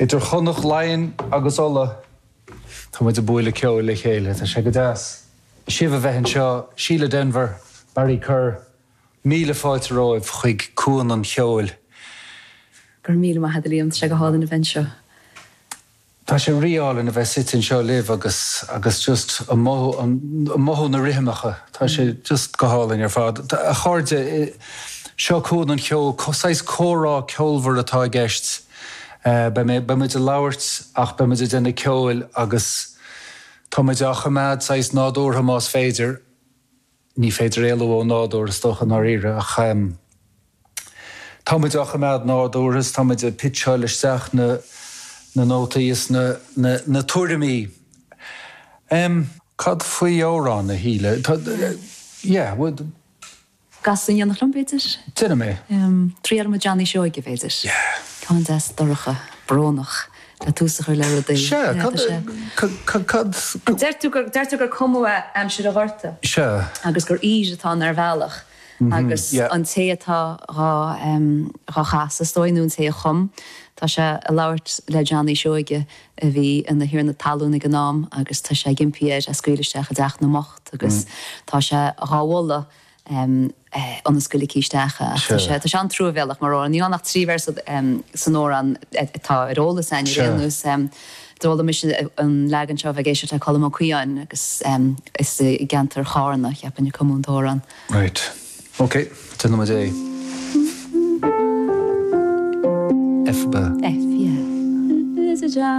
Idir Chonnacht, Laighin agus Uladh, tá muid ag bualadh ceoil le chéile. Tá sé go deas sibh a bheith anseo, Síle Denvir, Barry Kerr, míle fáilte romhaibh chuig Cuan an Cheoil. Go raibh míle maith agat a Liam, tá sé go hálainn a bheith anseo. Tá sé rí-álainn a bheith suite anseo libh agus agus just ag mothú ag mothú na rithimeacha. Tá sé just go hálainn ar fad. A chairde, seo Cuan an Cheoil, saghas comhrá ceolmhar atá i gceist. Beidh mé, beidh muid ag labhairt ach beidh muid ag déanamh ceoil agus tá muid á choimeád saghas nádúrtha más féidir. Ní féidir éalú ó nádúr is dócha i ndáiríre ach tá muid á choimeád nádúrtha is tá muid ag pitseáil isteach na na nótaí is na na na tuairimí. Cad faoi amhrán, a Shíle? Tá yeah, would. Casadh in éineacht liom, b'fhéidir? Déanfaidh mé. Triail mo Johnny Seoige, b'fhéidir. Yeah. Ceann deas dorcha, brónach, le tús a chur le rudaí. Sea, cad, cad, cad. Deir tú gur, deir tú gur cumadh é aimsir an Ghorta. Sea. Agus gur aoir atá ann ar bhealach. Agus an té atá dhá, dhá chasadh, is dóigh, nó an té a chum, tá sé ag labhairt le Johnny Seoige a bhí ina thiarna talún ag an am agus tá sé ag impí air é a scaoileadh isteach i dteach na mbocht agus tá sé dhá mholadh ionas go ligfí isteach é. Ach tá sé, tá sé an-truamhéalach mar amhrán. Níl ann ach 3 véarsa san amhrán atá ar eolas againn ar aon nós. D'fhoghlaim mise an leagan seo a bheith ag éisteacht le Colm Ó Caodháin agus is i gceantar Chárna, cheapfainn, a cumadh an t-amhrán. Right. Ok, déanfaidh muid é. F ab ea? F, yeah.